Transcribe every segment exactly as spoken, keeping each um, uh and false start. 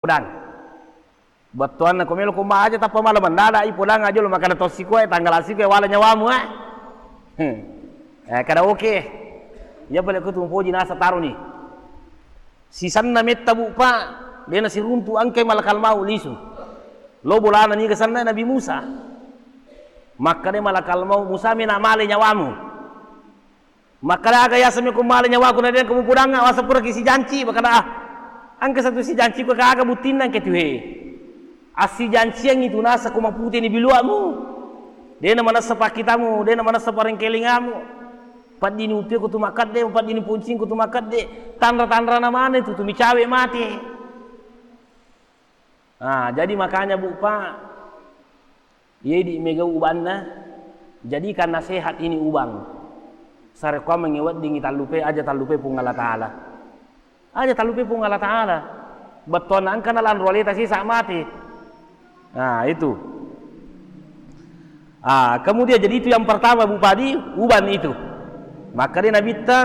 Podang. Bettuanna ko melo ko ma aja tappa mala mendadak i podang aja lo makkeda to sikoe tanggal sikoe wala nyawamu, eh. Hmm. Eh, kada oke. Iya pale ko tu mupoji nasa taroni. Sisanna metta bu pa, dena siruntu angkai malakal mau lisu. Lo bolana niga sanna Nabi Musa. Makkeda malakal mau Musa mena male nyawamu. Makkeda aga yaseng meko male nyawaku na dena ko mupodangnga wasa puraki sijanci, makkeda ah. Engka satu sijanci ko kaga buttinna engka tuhe. Assijanciang itu nasa ko maputeni biluamu. Dena manessa pakkitamu, dena manessa parengkelingamu. Paddini uttue ko tu makkedde, paddini poncing ko tu makkedde. Tanra-tanrana maneng tu, tu micawe mate. Nah, jadi makanya bu pa, Iya, idi mega ubanna, jadikan nasehat ini ubang. Sarekkuammengngi weddingngi tallupe, aja tallupe Puang Allah Ta'ala. Aja tallupe Puang Allah Ta'ala. Bettuanna engka nalanro aleta sesa mate. Nah, itu. Ah, kemudian jadi itu yang pertama, Bu Padi, uban itu. Makkeda Nabitta,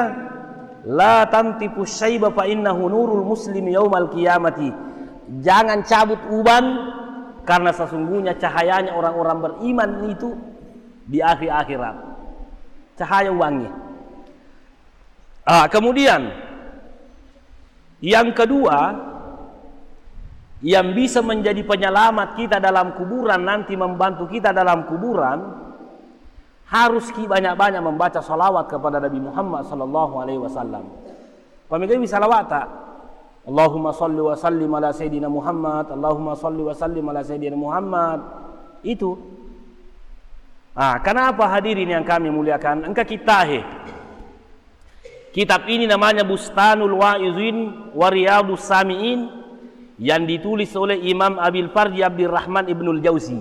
"La tantifu syaiba fa innahu nurul muslim yaumal qiyamati." Jangan cabut uban, karena sesungguhnya cahayanya orang-orang beriman itu di akhir akhirat. Cahaya ubangnge. Ah, kemudian yang kedua, yang bisa menjadi penyelamat kita dalam kuburan, nanti membantu kita dalam kuburan, harus ki banyak-banyak membaca salawat kepada Nabi Muhammad sallallahu alaihi wasallam. Pamegai salawata. Allahumma salli wa sallim ala sayyidina Muhammad, Allahumma salli wa sallim ala sayyidina Muhammad. Itu. Ah, kenapa hadirin yang kami muliakan? Engka kittahe. Kitab ini namanya Bustanul Wa'izin wa Riyadus Sami'in yang ditulis oleh Imam Abil Farji Abdurrahman Ibnul Jauzi.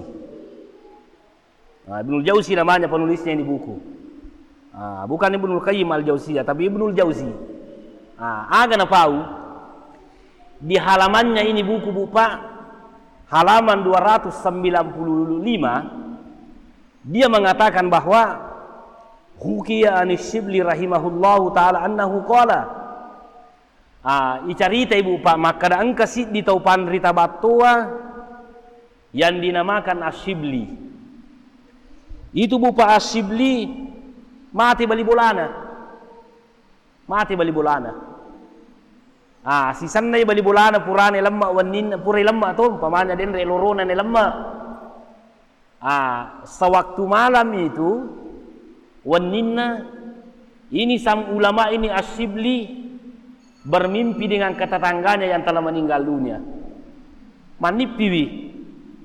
Nah, Ibnul Jauzi namanya penulisnya ini buku. Ah, bukan Ibnul Qayyim Al-Jauziyah, tapi Ibnul Jauzi. Ah, aga napau? Di halamannya ini buku, Bu, Pak, halaman dua ratus sembilan puluh lima, dia mengatakan bahwa hukiya anis Shibli rahimahullahu ta'ala annahu qala. Ah, icaritai, Bu, Pak, makkeda engka siddi tau panrita battoa yang dinamakan Asyibli. Itu, Bu, Pak, Asyibli mate bali bolana. Mate bali bolana. Ah, sisennai bali bolana purane lemma wenninna, pura lemma to, umpamanya denre lorona ne lemma. Ah, sewaktu malam itu, wenninna, ini sang ulama ini Asyibli bermimpi dengan ketetangganya yang telah meninggal dunia. Mannippiwi,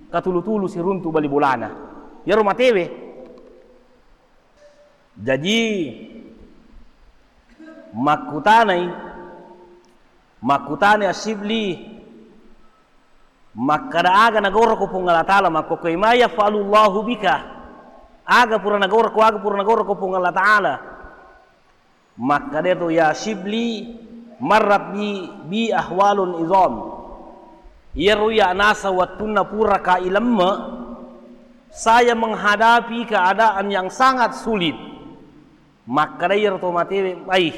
katulu-tulu siruntu bali bolana. Iyaro matewe. Jaji, makkutanai, makkutanai Asyibli, makkeda aga nagoroko Puang Allah Ta'ala, makkokkoe, "Ma yaf'alullahu bika?" Aga pura nagoroko, aga pura nagoroko Puang Allah Ta'ala. Makkeda tu, "Ya Syibli, marrat bi, bi ahwalun izam." Iyaro iya nasa wettunna pura ka ilemme, saya menghadapi keadaan yang sangat sulit. Makkeda iyaro to matewe, "Ai,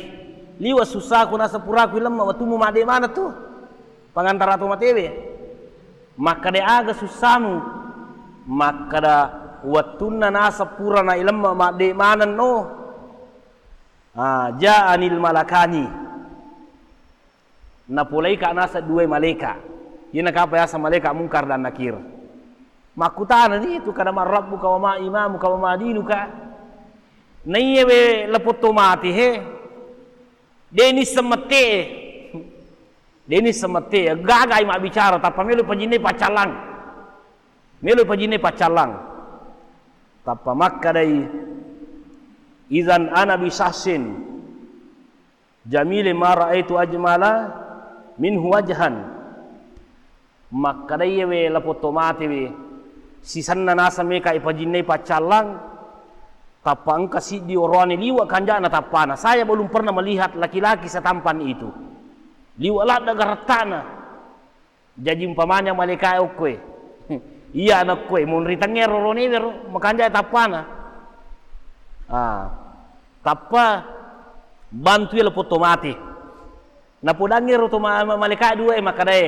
liwa susahku nasa puraku ilemme wettummu madde maneng tu." Pangantara to matewe. Makkeda, "Aga susahmu?" Makkeda, "Wettunna nasa pura na ilemme madde maneng no." Ah, ja'anil malakani. Napolaika nasa dua malaika. Iyana kapa yasa malaika Mungkar dan Nakir. Makkutana ni tu kada, "Man rabbuka wa ma imamuka wa ma dinuka?" Naiye we lapotto mati he. Deni semette. Deni semette. Gagai mabbicara tappa melo pajinnai paccallang. Melo pajinnai paccallang. Tappa makkadai, "Idzan ana bi syahsin jamilin ma ra'aitu ajmala minhu wajhan." Makkadai we lapotto mate we, sisenna naseng meka ipajinnai paccallang, tappa engka siddi oroane liwa kanjana tappana. Saya belum pernah melihat laki-laki setampan itu. Liwa ladda garattana. Jaji umpamanya malaikae okkoe. Iya anakkoe, monri tengngero ronewe ro, makanjai tappana. Ah, tappa bantui lapotto mate. Napodangngi ro to ma-, ma-, malaikae dua e makkadae,